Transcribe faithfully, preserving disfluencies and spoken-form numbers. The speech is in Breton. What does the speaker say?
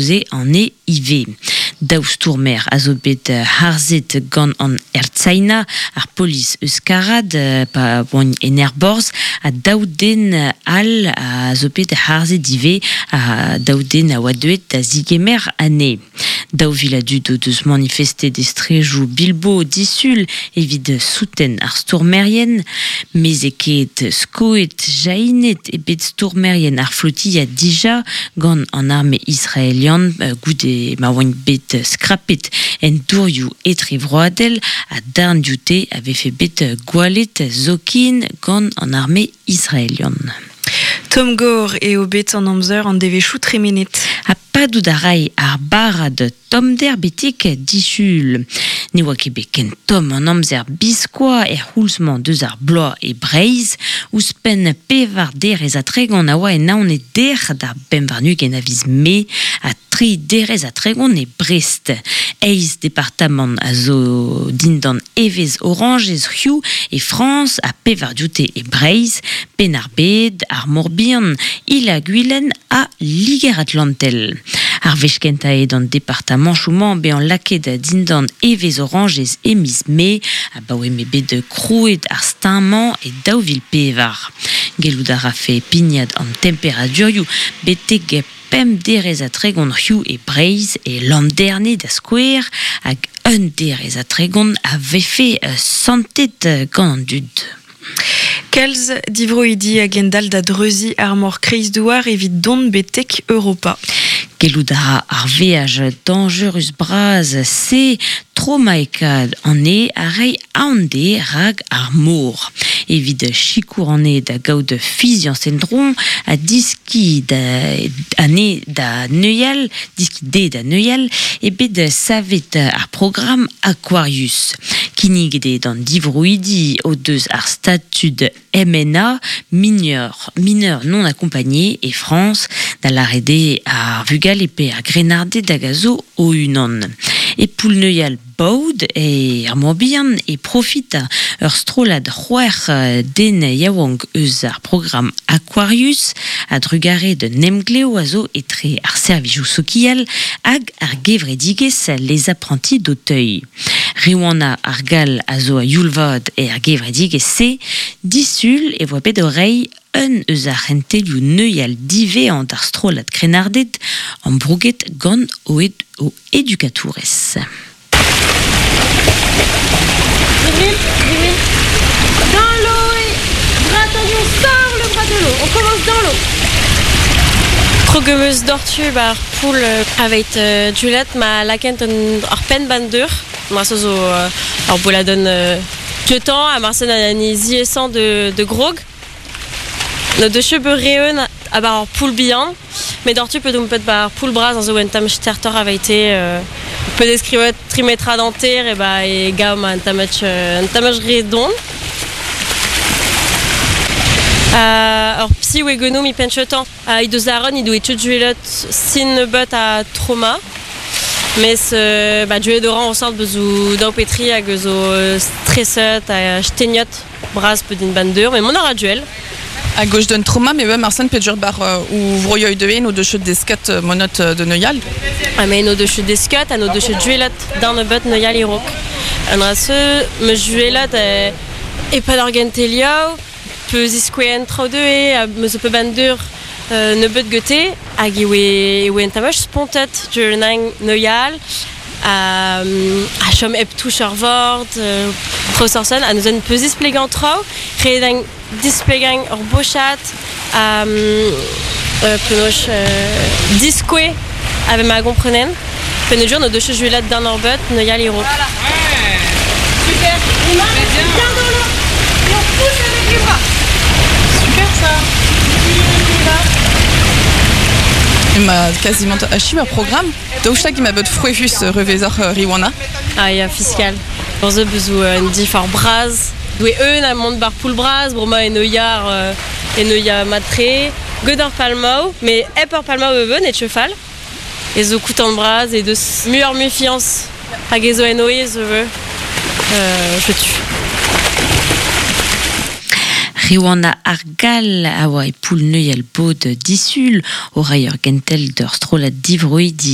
kaoze ane ive. Daou stourmer a zo bet harzet gant an Ertzaina, ar polis euskarad pa oant en aerborzh, ha daou den all a zo bet harzet ivez, ha daou den a oa deuet da zigemer anezhe. Daou vil a dud o deus manifestet e strejoù Bilbo disul evit souten ar stourmerien, mezeket skoet jahinet e bet stourmerien ar flotilla dija gant an arme israelian goude ma oant bet skrapet en dourioù etrevroadel ha darn dioute a vefe bet gwallet zoken gant an arme israelian. Tom Gore eo bet an amzer an devezhioù tremenet. Ha padout a ray ar barrad tommder betek disul. Ne oa ket bet ken tomm an amzer biskoazh er c'houlz-mañ deus ar bloaz e Breizh. Ouzhpenn pevar derez ha tregont a oa en Naoned dec'h d'ar pemp warn-ugent a viz Mae ha tri derez ha tregont e Brest. Eizh departamant a zo dindan evezh orañjez hiziv e Frañs ha pevar dioute e Breizh, Penn-ar-Bed, ar Mor-Bihan, Il-ha-Gwilen ha Liger-Atlantel. Ar wech kentañ eo d'an departamanchoù-mañ bezañ lakaet dindan evezh orañjez e miz Mae abaoe m'eo bet krouet ar steuñv-mañ e daou vil pevar. Gellout a rafe pignat an temperadurioù betek pemp derez ha tregont hiziv e Breizh e Landerne da skouer hag un derez ha tregont a vefe santet gant an dud. Kalz divroidi a gendalc'h da dreuziñ ar mor Kreizdouar evit dont betek Europa. Gellout a ra ar veaj dañjerus bras se tromaekaat anezhe a reiñ aon dezhe rak ar mor. Evit sikour anezhe da gaout fiziañs en-dro ha diskiñ da anezhe da neuial, diskiñ dezhe da neuial, eo bet savet ar programm Aquarius. Kinniget eo d'an divroidi o deus ar statud M N A, mineur, mineur non accompagné e Frañs, da lâret eo ar vugale pe ar grennarded hag a zo o-unan. E poull-neuial Baod e ar Morbihan e profita ur strollad c'hwec'h den yaouank eus ar programm Aquarius a drugare d'un emglev a zo etre ar servijoù sokial hag ar gevredigezh Les Apprentis d'Auteuil. Riwana ar Gall a zo a youl-vat er gevredigezh-se, disul e voa bet o reiñ un eus ar c'hentelioù neuial divezhañ d'ar strollad krennarded ambrouget gant o, ed o edukatourez. Dans l'eau et bras tendu, on sort le bras de l'eau, on commence dans l'eau. Krog 'm eus doc'htu bar poull aveit euh, Juliette ma lakent un ar penn ban deur. Marse zo euh, ar boladenn euh, dioutañ ha marse an ziaesañ de, de grog. No deus ket bet re-eun a bar ar poull bihan, met doc'htu pe domp pet bar poull bras an zo un tamm stertoc'h aveite euh, pe deskrivet tri metrad hanter e ba e gav ma un tamm un tamm re don. Euh, ur psi oe genou mi penchetan. Uh, he deus aron, he doe tut juelot sin nebeut a trauma. Mes euh, ba, duet oran o sort bezo daou petri hag zo stresset ha steniot bras pe din ban deur, mais mon a duel. A gauche d'un trauma, mais ouais, Marcel peut dire bar euh, ou vroioï de no de chut desket euh, monot de neuial. Ah mais no de chut desket, a no de chut duelot dans nebeut neuial irok. An ra se me juelot e, e pa d'orgenteliao, pe ziskouen traoù de e, a me zo pe ban deur euh, nebeut gete, hag e oe, e oe en tamach spontet du nang neuial, a, a chom hep touch ur vord, euh, traoù sorsen, a neuzen peus displegañ traoù, re dang displegañ ur bochat, a euh, penaos euh, diskoe ave ma gomprenen, penaos no deus juelat d'an ur beut neuial irok. Voilà. Ouais. Super. Les mains bien dans l'eau. Et on pousse avec les bras. Super ça. Ma quasiment achiv ar programme. Daoust hag ema bet frouezhus revezoc'h Riwana. Ah ya, fiskal. Ur zo bezo un dif ar braz. Doe eun a mont bar poull braz, broma en oiar euh, en oia matre. Gant ar palmaou, mais hep ar palmaou e beun e tchefal. E zo koutant braz e deus muioc'h mui fiañs. Hag e zo en oe zo veu. Euh, je tue. Riwana ar Gall a oa e poull-neuial Baod disul o reiñ ur gentel d'ur strollad divroidi.